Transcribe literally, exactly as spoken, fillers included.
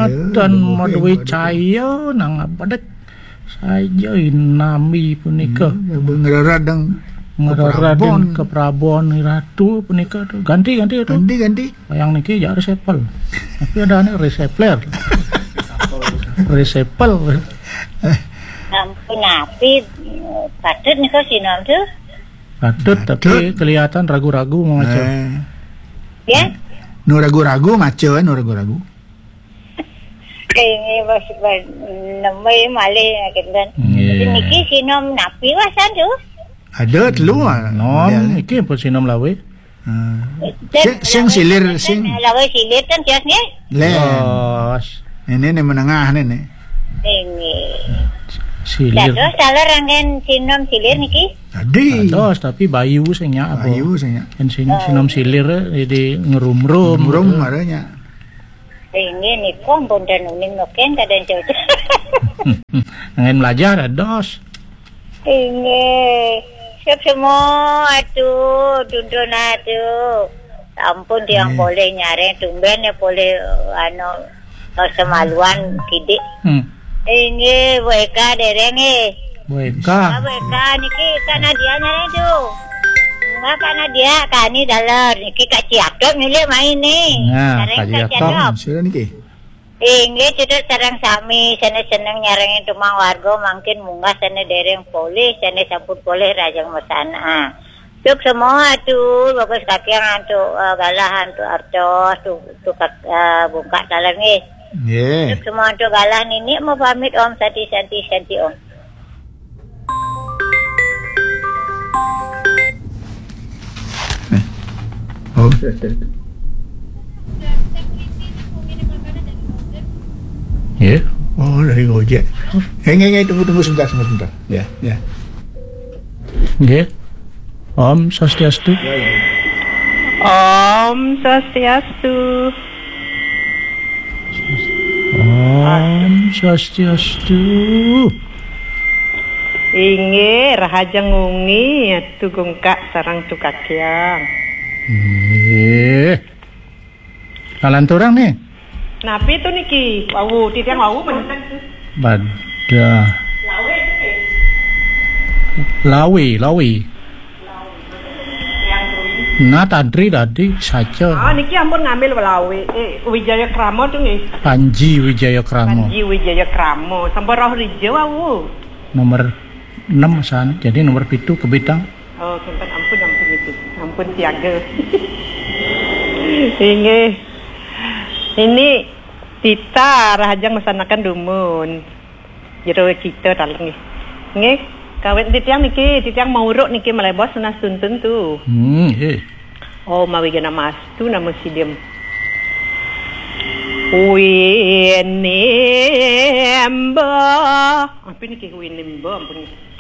Ten madué caya nang abadek saja inami punika. Hmm, ngereredeng ngereredeng keprabon. Keprabon ratu punika tuh. Ganti, ganti tuh. Ganti, ganti. Yang niki ya resepel. Tapi ada nih resepler. Resepel. Sampun napi, patut nika sinom tuh. Patut, tapi kelihatan ragu-ragu mau maca. Eh. Ya? Nu ragu-ragu maca, nu ragu-ragu. Ini bos, bos, nembé malih kinten. Nggih. Niki sinom napi wasan tuh? Ada telu, ah, nom, modelnya. Niki pun sinom lawé. Ah. Sing, sing silir, sing. Lawé silir kan tios nggih? Len. Bos. Ini nih menengah nih, nih. Ini. Silir. Dados taler anggen sinom silir niki? Tadi. Dados, tapi bayu sing nyak apa? Bayu sing nyak. Kan sin-, sinom silir, eh, di ngerumrum. Ngerumrum gitu. Maranya. Inggih niku ampun ten uning noken kadang cocok. Ngen belajar dos. Inggih. Siap semua atuh, tuntun atuh. Ampun tiang boleh nyareng tumben ya boleh anu semaluan kidik. Hmm. Inggih, Bu Eka dereng nggih. Bu Eka. Ah, Bu Eka niki Kak Nadia nyareng tuh. Enggak Kak Nadia, Kak Ani daler. Niki Kak Ciatok nyulik main nih. Nah, Kak Ciatok. Sira niki. Inggih, cedhak sareng sami, sane seneng nyarengin tumang warga, mangkin munggah sane dereng polih, sane sampun polih rajang mesana. Cuk semua tuh, bagus kakiang antuk, eh, galah antuk artos, tuh, tuh kak, eh, bungkak taler nggih. Nggih. Cuk semua antuk galah nini mau pamit om, santi, santi, santi om. Eh. Oh. Ya. Oh, dari Gojek. Eh, nggih, nggih, tunggu, tunggu sebentar, sebentar, sebentar. Ya, ya. Nggih. Om Swastiastu. Om Swastiastu. Om Swastiastu. Inggih, rahajeng wengi, Atu Gungkak sareng Tu Kakiang. Nggih. Kalanturang nih. Napi tu niki? Wau, titiang wau men. Bada. Lawe, lawe. Nah, tadri tadi saja. Ah, niki ampun ngambil lawe. Eh, Wijaya Krama tu nggih. Panji Wijaya Krama. Panji Wijaya Krama. Sampun rauh rija wau. Nomor enam san. Jadi nomor pitu kebitang. Oh, kinten ampun, ampun itu. Ampun siaga. Inggih. Ini Tita rahajeng mesanaken dumun. Jero cita dalem nggih. Nggih, kawit titiang niki, titiang mauruk niki malebos nunas tuntun tu. Hmm, nggih. Oh, mawi gena mastu nama sidim. Winimba. Apa niki winimba ampun nggih.